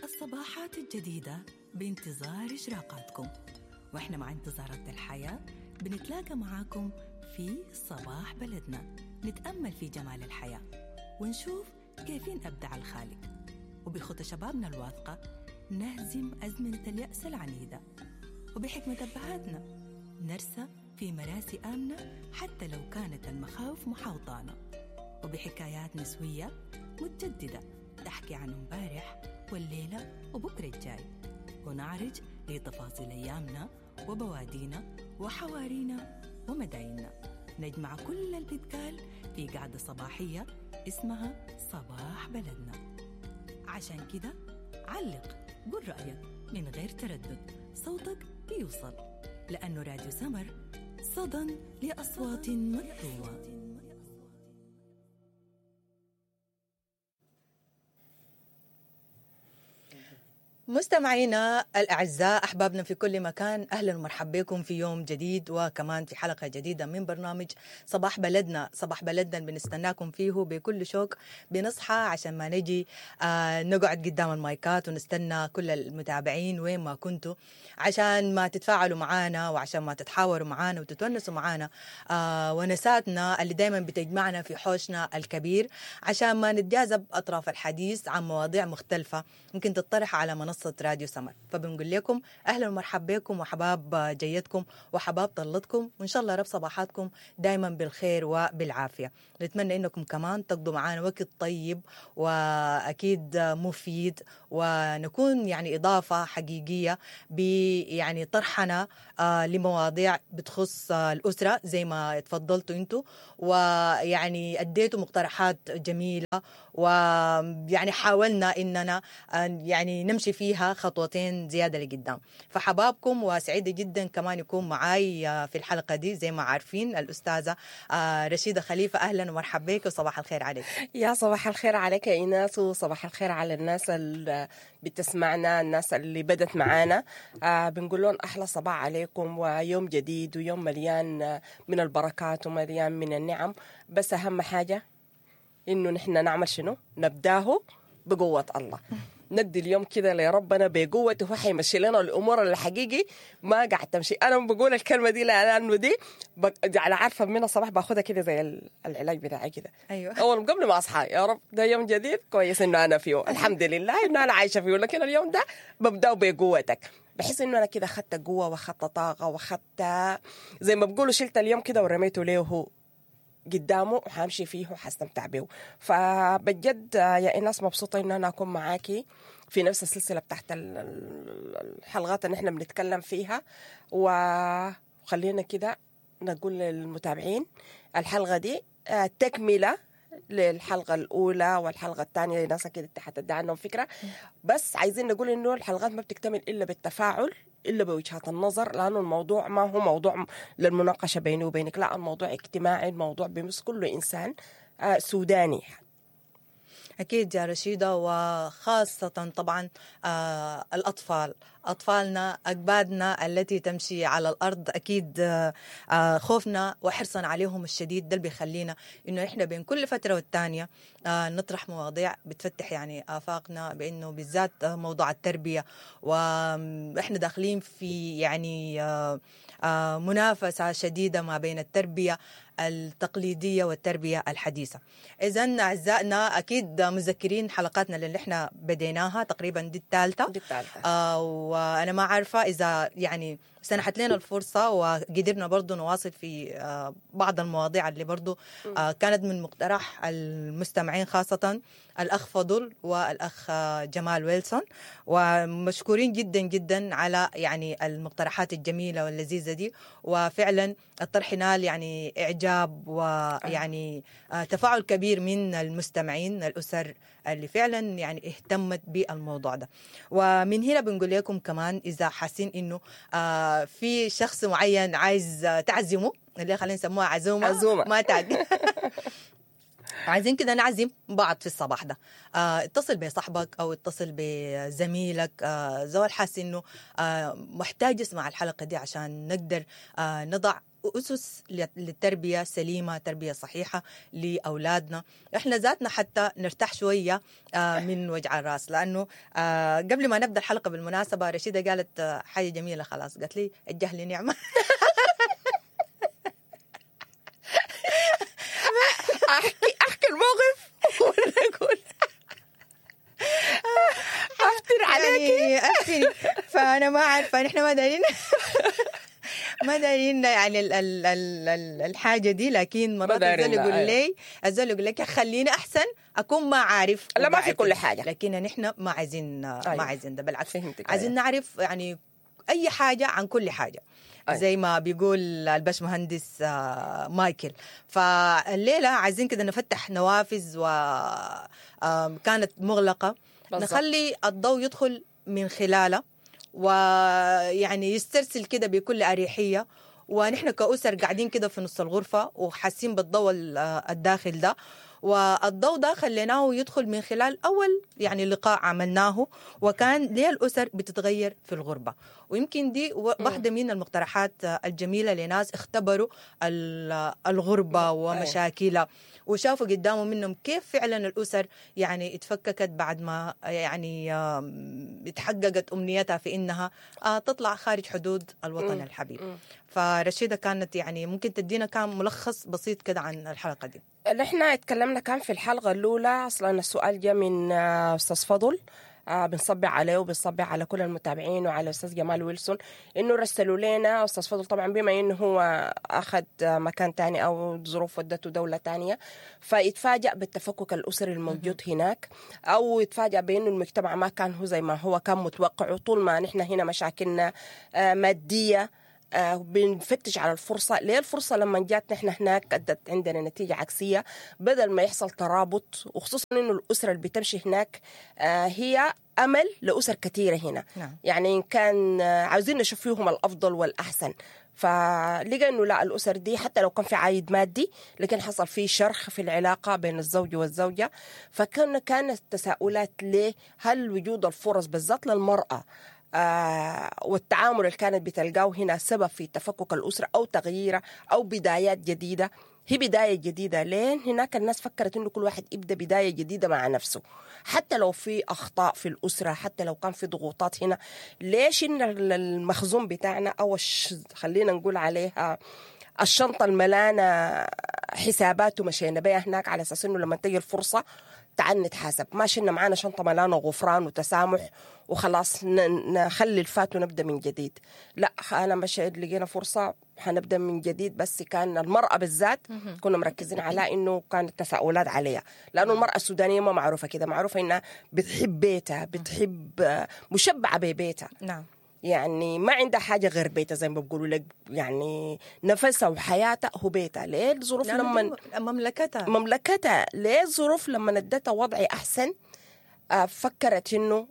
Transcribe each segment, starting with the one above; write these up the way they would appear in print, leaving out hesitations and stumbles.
الصباحات الجديدة بانتظار إشراقاتكم، وإحنا مع انتظارات الحياة بنتلاقى معاكم في صباح بلدنا، نتأمل في جمال الحياة ونشوف كيفين أبدع الخالق، وبخطى شبابنا الواثقة نهزم أزمنة اليأس العنيدة، وبحكمة أبهاتنا نرسى في مراسي آمنة حتى لو كانت المخاوف محاوطانا، وبحكايات نسوية متجددة تحكي عن امبارح والليلة وبكرة الجاي، ونعرج لتفاصيل أيامنا وبوادينا وحوارينا ومدايننا. نجمع كل اللي بيتقال في قعدة صباحية اسمها صباح بلدنا. عشان كده علق، قول رأيك من غير تردد، صوتك بيوصل، لأنه راديو سمر صدى لأصوات مكتومة. مستمعينا الأعزاء، أحبابنا في كل مكان، أهلا ومرحبا بكم في يوم جديد وكمان في حلقة جديدة من برنامج صباح بلدنا. صباح بلدنا بنستناكم فيه بكل شوق، بنصحى عشان ما نجي نقعد قدام المايكات ونستنى كل المتابعين وين ما كنتوا، عشان ما تتفاعلوا معانا وعشان ما تتحاوروا معانا وتتونسوا معانا ونساتنا اللي دايما بتجمعنا في حوشنا الكبير، عشان ما نتجاذب أطراف الحديث عن مواضيع مختلفة ممكن تطرح على منصة راديو سمر. فبنقول لكم اهلا ومرحبا بكم وحباب جيتكم وحباب طلتكم، وان شاء الله رب صباحاتكم دايما بالخير وبالعافيه. نتمنى انكم كمان تقضوا معانا وقت طيب واكيد مفيد، ونكون يعني اضافه حقيقية ب يعني طرحنا لمواضيع بتخص الاسرة زي ما تفضلتوا انتوا، ويعني اديتوا مقترحات جميلة، ويعني حاولنا اننا يعني نمشي فيها خطوتين زيادة لقدام. فحبابكم، وسعيدة جدا كمان يكون معاي في الحلقة دي زي ما عارفين الأستاذة رشيدة خليفة. أهلا ومرحبا بك وصباح الخير عليك. يا صباح الخير عليك يا إيناس، وصباح الخير على الناس اللي بتسمعنا، الناس اللي بدت معانا. بنقول لهم أحلى صباح عليكم، ويوم جديد ويوم مليان من البركات ومليان من النعم. بس أهم حاجة إنه نحن نعمل شنو؟ نبداه بقوة الله. ندي اليوم كده لربنا بقوته، هو حيمشي لنا الامور اللي حقيقي ما قاعد تمشي. انا بقول الكلمة دي لانه دي على عارفه من الصباح باخدها كده زي العلاج بتاعي كده. ايوه، اول قبل ما اصحى، يا رب ده يوم جديد كويس انه انا فيه، الحمد لله انه انا عايشه فيه، لكن اليوم ده ببداه بقوتك. بحس انه انا كده اخدت قوة واخدت طاقة واخدت زي ما بقولوا شلت اليوم كده ورميته له قدامه وحامشي فيه وحستمتع به. فبجد يا إيناس مبسوطة إن أنا أكون معاكي في نفس السلسلة بتاعت الحلقات اللي إحنا بنتكلم فيها. وخلينا كده نقول للمتابعين الحلقة دي تكملة للحلقة الأولى والحلقة الثانية، لناس كده حتدي عنهم فكرة. بس عايزين نقول إنه الحلقات ما بتكتمل إلا بالتفاعل، إلا بوجهات النظر، لأنه الموضوع ما هو موضوع للمناقشة بيني وبينك، لا، الموضوع اجتماعي، الموضوع بيمس كل إنسان سوداني. أكيد يا رشيدة، وخاصة طبعا الأطفال، أطفالنا، أكبادنا التي تمشي على الأرض. أكيد خوفنا وحرصنا عليهم الشديد ده اللي بيخلينا إنه إحنا بين كل فترة والتانية نطرح مواضيع بتفتح يعني آفاقنا، بإنه بالذات موضوع التربية، وإحنا داخلين في يعني منافسة شديدة ما بين التربية التقليدية والتربية الحديثة. إذن أعزائنا أكيد مذكرين حلقاتنا اللي إحنا بديناها تقريبا دي الثالثة، وأنا ما عارفة إذا يعني سنحت لنا الفرصة وقدرنا برضو نواصل في بعض المواضيع اللي برضو كانت من مقترح المستمعين، خاصة الأخ فضل والأخ جمال ويلسون، ومشكورين جدا جدا على يعني المقترحات الجميلة واللذيذة دي. وفعلا الطرح نال يعني إعجاب ويعني تفاعل كبير من المستمعين، الأسر اللي فعلا يعني اهتمت بالموضوع ده. ومن هنا بنقول لكم كمان إذا حاسين إنه في شخص معين عايز تعزمه، اللي خلينا نسموها عزومة ما تعزم عايزين كده نعزم بعض في الصباح ده، اتصل بصاحبك او اتصل بزميلك، زول حاسس انه محتاج يسمع الحلقة دي عشان نقدر نضع اسس للتربية سليمة، تربيه صحيحه لاولادنا، احنا ذاتنا حتى نرتاح شوية من وجع الراس. لانه قبل ما نبدا الحلقة بالمناسبة رشيده قالت حاجة جميلة، خلاص قالت لي الجهل نعمه. احكي الموقف ولا اقول افتر عليكي؟ يعني فانا ما عارفه، نحن ما دارين ما دارين يعني ال ال ال الحاجة دي، لكن مرات الزول يقول لي، الزول يقول لك خليني احسن اكون ما عارف. لا ما في كل حاجة، لكن نحن ما عايزين، ما عايزين ده، بالعكس عايزين نعرف يعني اي حاجة عن كل حاجة. زي ما بيقول الباشمهندس مايكل. فالليله عايزين كده نفتح نوافذ وكانت مغلقة، بالزبط. نخلي الضوء يدخل من خلالها ويعني يسترسل كده بكل أريحية، ونحن كأسر قاعدين كده في نص الغرفة وحاسين بالضوء الداخل ده، والضوء ده خليناه يدخل من خلال أول يعني لقاء عملناه، وكان ليه الأسر بتتغير في الغربة. ويمكن دي واحدة من المقترحات الجميلة لناس اختبروا الغربة ومشاكلها وشافوا قدامهم منهم كيف فعلا الأسر يعني اتفككت بعد ما يعني اتحققت أمنيتها في إنها تطلع خارج حدود الوطن الحبيب. فرشيدة كانت يعني ممكن تدينا كان ملخص بسيط كده عن الحلقة دي. اللي احنا اتكلمنا كان في الحلقة الأولى، أصلا السؤال جاء من أستاذ فضل، بنصبع عليه وبنصبع على كل المتابعين وعلى أستاذ جمال ويلسون إنه رسلوا لنا. أستاذ فضل طبعا بما إنه هو أخذ مكان تاني أو ظروف ودته دولة تانية، فيتفاجأ بالتفكك الأسري الموجود هناك، أو يتفاجأ بإنه المجتمع ما كان هو زي ما هو كان متوقع. طول ما نحن هنا مشاكلنا مادية، بنفتش على الفرصة. ليه الفرصة لما جات نحن هناك أدت عندنا نتيجة عكسية، بدل ما يحصل ترابط، وخصوصا إنه الأسرة اللي بتمشي هناك هي أمل لأسر كثيرة هنا. نعم. يعني إن كان عاوزين نشوف فيهم الأفضل والأحسن، فلقى إنه لا، الأسر دي حتى لو كان في عائد مادي لكن حصل فيه شرخ في العلاقة بين الزوج والزوجة. فكان كانت التساؤلات ليه، هل وجود الفرص بالذات للمرأة والتعامل اللي كانت بتلقاه هنا سبب في تفكك الأسرة أو تغييرها أو بدايات جديدة؟ هي بداية جديدة. لين هناك الناس فكرت إنه كل واحد يبدأ بداية جديدة مع نفسه، حتى لو في أخطاء في الأسرة، حتى لو كان في ضغوطات هنا. ليش إن المخزون بتاعنا أو خلينا نقول عليها الشنطة الملانة حسابات ومشينا بيها هناك على أساس إنه لما تيجي الفرصة تعال نتحاسب، ما شلنا معانا شنطة ملانة غفران وتسامح وخلاص نخلي الفات ونبدأ من جديد. لا، أنا مشيت لقينا فرصة حنبدأ من جديد. بس كان المرأة بالذات كنا مركزين على إنه كانت تساؤلات عليها، لأنه المرأة السودانية ما معروفة كده، معروفة إنها بتحب بيتها، بتحب مشبعة ببيتها. نعم. يعني ما عندها حاجة غير بيتها زي ما بيقولوا لك، يعني نفسها وحياتها هو بيتها. ليه الظروف لما مملكتها ليه الظروف لما ادتها وضعي أحسن فكرت إنه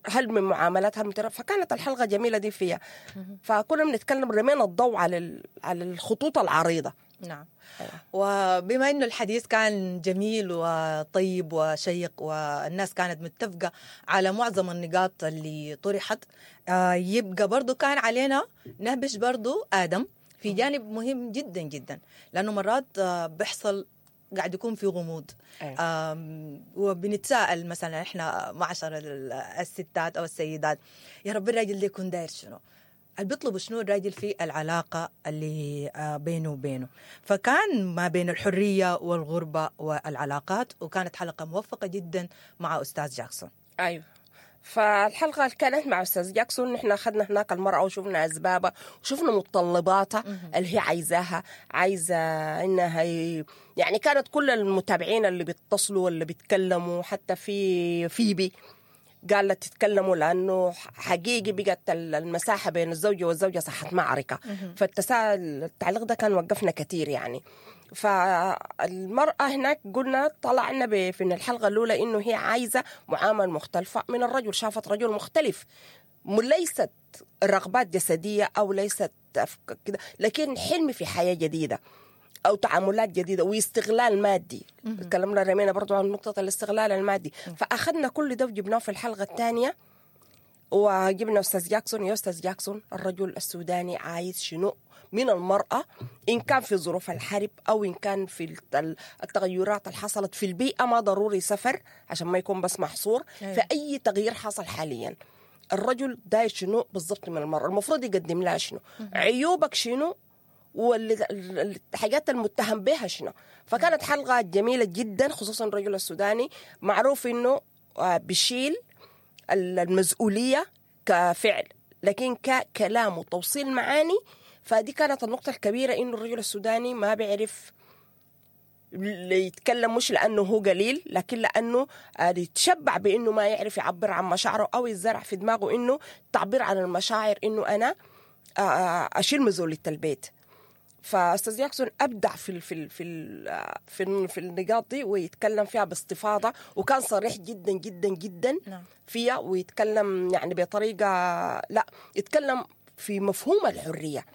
هل من معاملاتها فكانت الحلقة جميلة دي فيها. فكنا بنتكلم رمينا الضوء على الخطوط العريضة. نعم. وبما أنه الحديث كان جميل وطيب وشيق والناس كانت متفقة على معظم النقاط اللي طرحت، يبقى برضو كان علينا نهبش برضو آدم في جانب مهم جدا جدا، لأنه مرات بيحصل قاعد يكون في غموض. وبنتساءل مثلا احنا معشر الستات أو السيدات، يا رب الراجل ده يكون داير شنو؟ اللي بيطلبوا شنو الراجل في العلاقة اللي بينه وبينه؟ فكان ما بين الحرية والغربة والعلاقات، وكانت حلقة موفقة جدا مع أستاذ جاكسون. أيوة. فالحلقة اللي كانت مع أستاذ جاكسون نحن أخذنا هناك المرأة وشفنا أسبابها وشفنا متطلباتها اللي هي عايزاها، عايزة إنها يعني كانت كل المتابعين اللي بيتصلوا واللي بيتكلموا، حتى في فيبي قالت تتكلموا لأنه حقيقي بقت المساحة بين الزوجة والزوجة صحت معركة. فالتساؤل التعليق ده كان وقفنا كثير يعني. فالمرأة هناك قلنا طلعنا في الحلقة الأولى إنه هي عايزة معاملة مختلفة من الرجل، شافت رجل مختلف، ليست رغبات جسدية أو ليست كده، لكن حلم في حياة جديدة أو تعاملات جديدة واستغلال مادي. تكلمنا رمينا برضو عن نقطة الاستغلال المادي. فأخذنا كل ده وجبناه في الحلقة الثانية، وجبنا استاذ جاكسون. يا استاذ جاكسون، الرجل السوداني عايز شنو من المرأة، إن كان في ظروف الحرب أو إن كان في التغيرات اللي حصلت في البيئة؟ ما ضروري سفر عشان ما يكون بس محصور. في أي تغيير حصل حاليا، الرجل داير شنو بالضبط من المرأة؟ المفروض يقدم لها شنو؟ عيوبك شنو؟ والحاجات المتهم بها شنو؟ فكانت حلقة جميلة جدا، خصوصا الرجل السوداني معروف انه بيشيل المسؤولية كفعل، لكن ككلام وتوصيل معاني، فدي كانت النقطة الكبيرة، انه الرجل السوداني ما بيعرف يتكلم، مش لانه هو قليل، لكن لانه يتشبع بانه ما يعرف يعبر عن مشاعره، او يزرع في دماغه انه التعبير عن المشاعر انه انا اشيل مسؤولية البيت. فاستاذ جاكسون ابدع في النقاط دي، ويتكلم فيها باستفاضة، وكان صريح جدا جدا جدا فيها، ويتكلم يعني بطريقة، لا، يتكلم في مفهوم الحريه.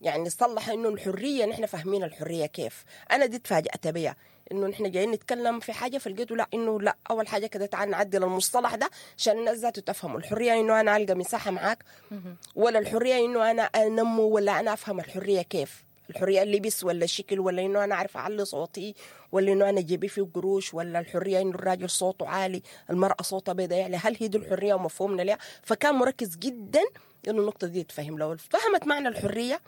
يعني صلح انه الحريه، نحن فاهمين الحرية كيف. انا دي تفاجات بيها، انه نحن جايين نتكلم في حاجة فلقيته لا، انه لا، اول حاجة كده تعال نعدل المصطلح ده عشان الناس ذاته تفهموا. الحرية انه انا القى مساحة معاك، ولا الحرية انه انا انمو، ولا انا افهم الحرية كيف؟ الحرية اللبس ولا الشكل، ولا انه انا اعرف اعلي صوتي، ولا انه انا جيبي فيه قروش، ولا الحرية انه الراجل صوته عالي، المراة صوتها بيضا؟ يعني هل هي دي الحرية ومفهومنا لها؟ فكان مركز جدا انه النقطة دي تفهم. لو فهمت معنى الحريه،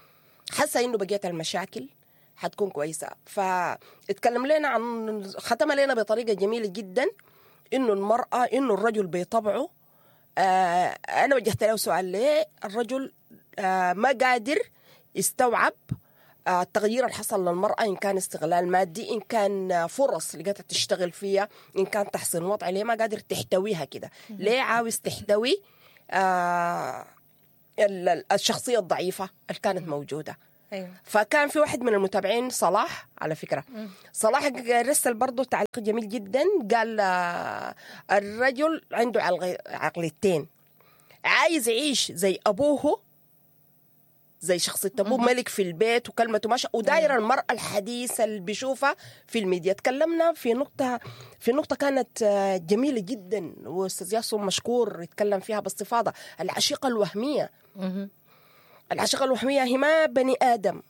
حاسه انه بقيت المشاكل حتكون كويسه. فاتكلم لنا عن، ختم لنا بطريقة جميلة جدا، انه المراة، انه الرجل بطبعه، انا وجهت له سؤال: ليه الرجل ما قادر يستوعب التغيير اللي حصل للمرأة، إن كان استغلال مادي، إن كان فرص لقيتها تشتغل فيها، إن كان تحسين وضع؟ ليه ما قادر تحتويها كده؟ ليه عاوز تحتوي الشخصية الضعيفة اللي كانت موجودة؟ فكان في واحد من المتابعين، صلاح، على فكرة صلاح رسل برضه تعليق جميل جدا، قال الرجل عنده عقليتين: عايز يعيش زي أبوه، زي شخصية أبوه، ملك في البيت وكلمته ماشية، وداير المرأة الحديثة اللي بيشوفها في الميديا. تكلمنا في نقطة كانت جميلة جدا، واستاذ ياسر مشكور يتكلم فيها باستفاضة: العشيقة الوهمية. العشيقة الوهمية هي ما بني آدم،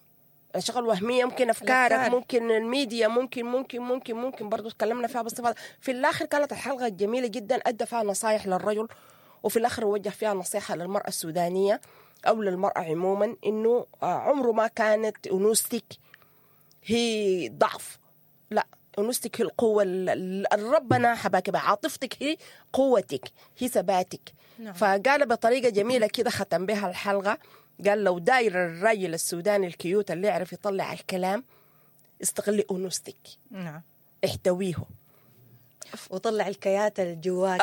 العشيقة الوهمية ممكن أفكارك، الأفكار. ممكن الميديا، ممكن ممكن ممكن ممكن. برضو تكلمنا فيها باستفاضة. في الآخر كانت الحلقة جميلة جدا، أدى فيها نصايح للرجل، وفي الآخر وجه فيها نصيحة للمرأة السودانية أو للمرأة عموما، إنه عمره ما كانت أنوثتك هي ضعف، لا، أنوثتك هي القوة اللي ربنا حباك بها، عاطفتك هي قوتك، هي ثباتك. فقال بطريقة جميلة كده، ختم بها الحلقة، قال لو داير الراجل السوداني ال cute اللي يعرف يطلع الكلام، استغلي أنوثتك، احتويه. وطلع الكيات اللي جواك.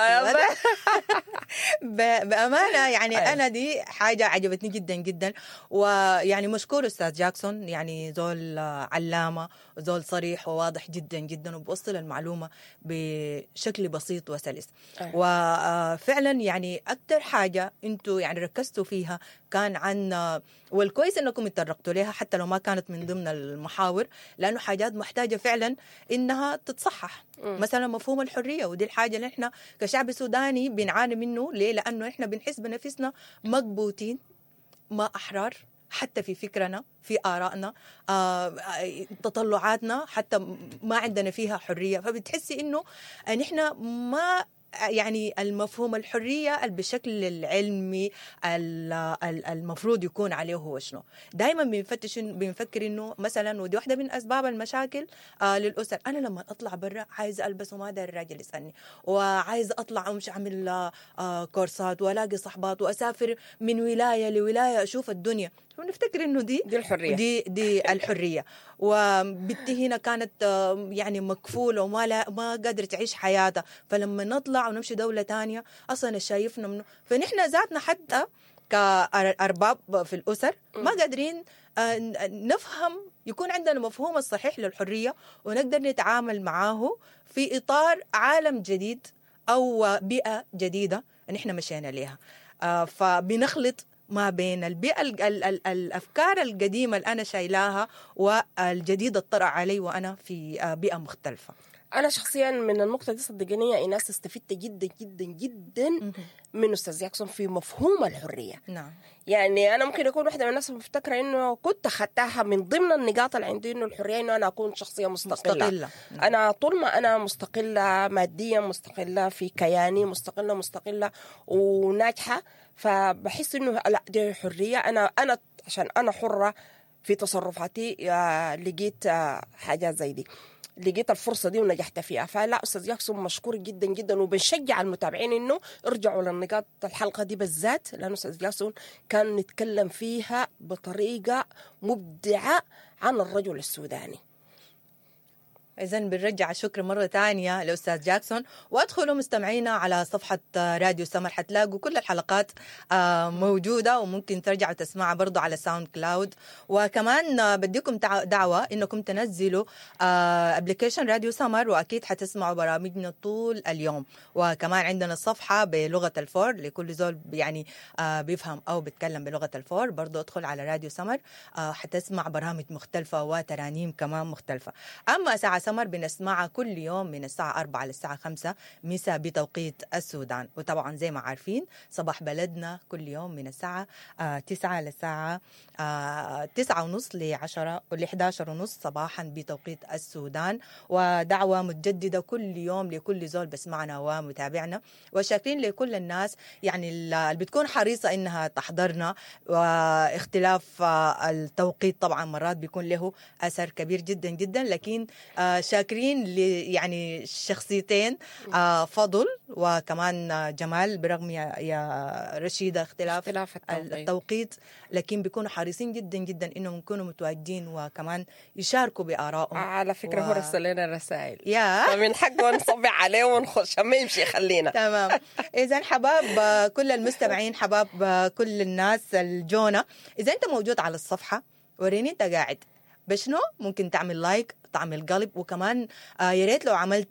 بأمانة يعني أنا دي حاجة عجبتني جدا جدا، ويعني مشكور أستاذ جاكسون، يعني زول علامة، زول صريح وواضح جدا جدا، وبوصل المعلومة بشكل بسيط وسلس. وفعلا يعني أكثر حاجة أنتوا يعني ركزتوا فيها كان عن، والكويس أنكم اتطرقتوا لها حتى لو ما كانت من ضمن المحاور، لأنه حاجات محتاجة فعلا إنها تتصحح. مثلا مفهوم الحرية، ودي الحاجة اللي احنا كشعب سوداني بنعاني منه. ليه؟ لأنه احنا بنحس بنفسنا مكبوتين، ما أحرار، حتى في فكرنا، في آرائنا، تطلعاتنا، حتى ما عندنا فيها حرية. فبتحسي إنه نحن ما يعني المفهوم الحرية بشكل العلمي المفروض يكون عليه هو شنو. دائما بنفتش، بنفكر انه مثلا، ودي واحدة من اسباب المشاكل للاسر، انا لما اطلع برا عايزه البس وما داير الراجل يسالني، وعايزه اطلع ومش اعمل كورسات والاقي صحبات واسافر من ولاية لولاية اشوف الدنيا، ونفتكر انه دي دي الحرية. دي الحريه. وبنتي هنا كانت يعني مكفوله وما لا ما قادرة تعيش حياتها، فلما نطلع ونمشي دولة تانية اصلا شايفنا منه. فنحن ذاتنا حتى كارباب في الاسر ما قادرين نفهم، يكون عندنا مفهوم الصحيح للحرية ونقدر نتعامل معاه في اطار عالم جديد او بيئة جديدة نحن مشينا لها. فبنخلط ما بين البيئة ال ال ال الأفكار القديمة اللي أنا شايلاها والجديدة الطرأ علي وأنا في بيئة مختلفة. انا شخصيا من النقطة دي صدقيني يا ايناس استفدت جدا جدا جدا من استاذ جاكسون في مفهوم الحرية. نعم. يعني انا ممكن اكون واحدة من الناس مفتكره انه كنت اخذتها من ضمن النقاط اللي عندي انه الحرية انه انا اكون شخصية مستقلة. مستقلة. نعم. انا طول ما انا مستقلة ماديا، مستقلة في كياني، مستقلة مستقلة وناجحة، فبحس انه لا دي حرية. انا عشان انا حره في تصرفاتي، لقيت حاجات زي دي، لقيت الفرصة دي ونجحت فيها. فلا استاذ جاكسون مشكور جدا جدا، وبنشجع المتابعين انه ارجعوا للنقاط الحلقة دي بالذات، لانه استاذ جاكسون كان نتكلم فيها بطريقة مبدعة عن الرجل السوداني. إذا بنرجع الشكر مرة ثانية لأستاذ جاكسون، وادخلوا مستمعينا على صفحة راديو سمر، حتلاقوا كل الحلقات موجودة، وممكن ترجعوا تسمعها برضو على SoundCloud. وكمان بديكم دعوة إنكم تنزلوا application راديو سمر، وأكيد حتسمعوا برامجنا طول اليوم. وكمان عندنا الصفحة بلغة الفور لكل زول يعني بيفهم أو بيتكلم بلغة الفور، برضو ادخل على راديو سمر حتسمع برامج مختلفة وترانيم كمان مختلفة. أما ساعة سمر بنسمعها كل يوم من الساعة 4 للساعة 5 مساء بتوقيت السودان. وطبعا زي ما عارفين صباح بلدنا كل يوم من الساعة 9 للساعة 9:30 ل10 ل11:30 صباحا بتوقيت السودان. ودعوة متجددة كل يوم لكل زول بسمعنا ومتابعنا، وشاكرين لكل الناس يعني اللي بتكون حريصة إنها تحضرنا. واختلاف التوقيت طبعا مرات بيكون له أثر كبير جدا جدا، لكن شاكرين يعني شخصيتين، فضل وكمان جمال، برغم يا رشيدة اختلاف التوقيت، لكن بيكونوا حريصين جدا جدا انهم يكونوا متواجدين وكمان يشاركوا بآرائهم. على فكرة هو رسل لنا الرسائل فمن حقه نصبع عليه ونخش، ما يمشي خلينا. تمام. اذا حباب كل المستمعين، حباب كل الناس الجونة، اذا انت موجود على الصفحة وريني انت قاعد بشنو، ممكن تعمل like، تعمل قلب، وكمان يا ريت لو عملت